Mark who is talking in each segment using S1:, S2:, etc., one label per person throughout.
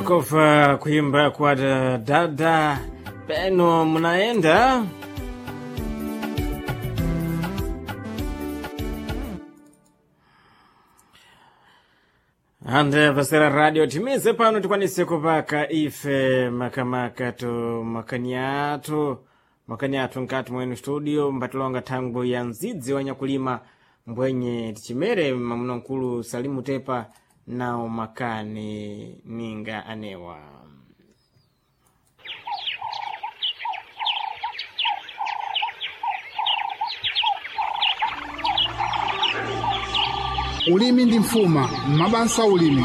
S1: Sankofa kuimba kwa dada peno munaenda ande pasera radio timize pano tikwanise kupaka ife makamaka to makani athu makani athu nkati mwenu studio mbatilonga thangwi ya mzidzi wa nyakulima mbwenye tichimere mamuna mkulu Salimu Tepa nawo makani ninga anewa.
S2: Ulimi ndi mfuma mabasa ulimi.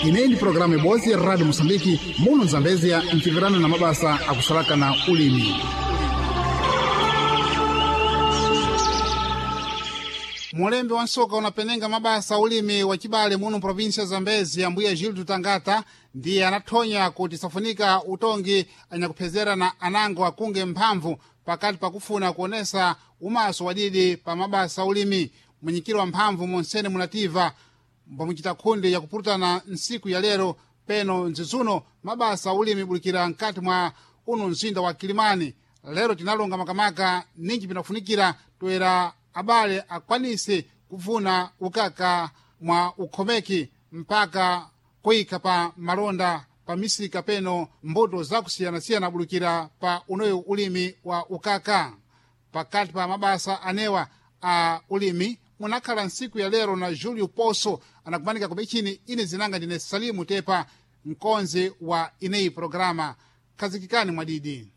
S2: Ineyi ndi programu ibodzi ya Radio Mosambiki muno Zambezia mchimvirana na mabasa akusalaka na ulimi. Mulembe wa nsoka unapenenga mabasa ulimi wa chibale muno provinsia ya Zambezi ambuya Gildo Tangata ndiye anathonya kuti safunika utongi anyakuphezera na anango akunge mphamvu pakati pakufuna kuonesa umaso wadidi pa mabasa ulimi. Mwenyikiro wa mphamvu monsene munativa mbamuchita khundi yakupulutana nsiku ya lero peno nzizuno mabasa ulimi bulikira mkati mwa uno mzinda wa Kilimani. Lero tinalonga makamaka ninji pinafunikira toera abale akwanise kuvuna ukaka mwa ukhomeki mpaka kuyika pa malonda pa misika peno mbuto zakusiyanasiyana bulukira pa unoyu ulimi wa ukaka. Pakati pa mabasa anewa a ulimi munakhala nsiku ya lero na Julio Poso anakumanika kumichini ine zinanga ndine Salimu Tepa mkonzi wa ineyi programa. Khazikikani mwadidi.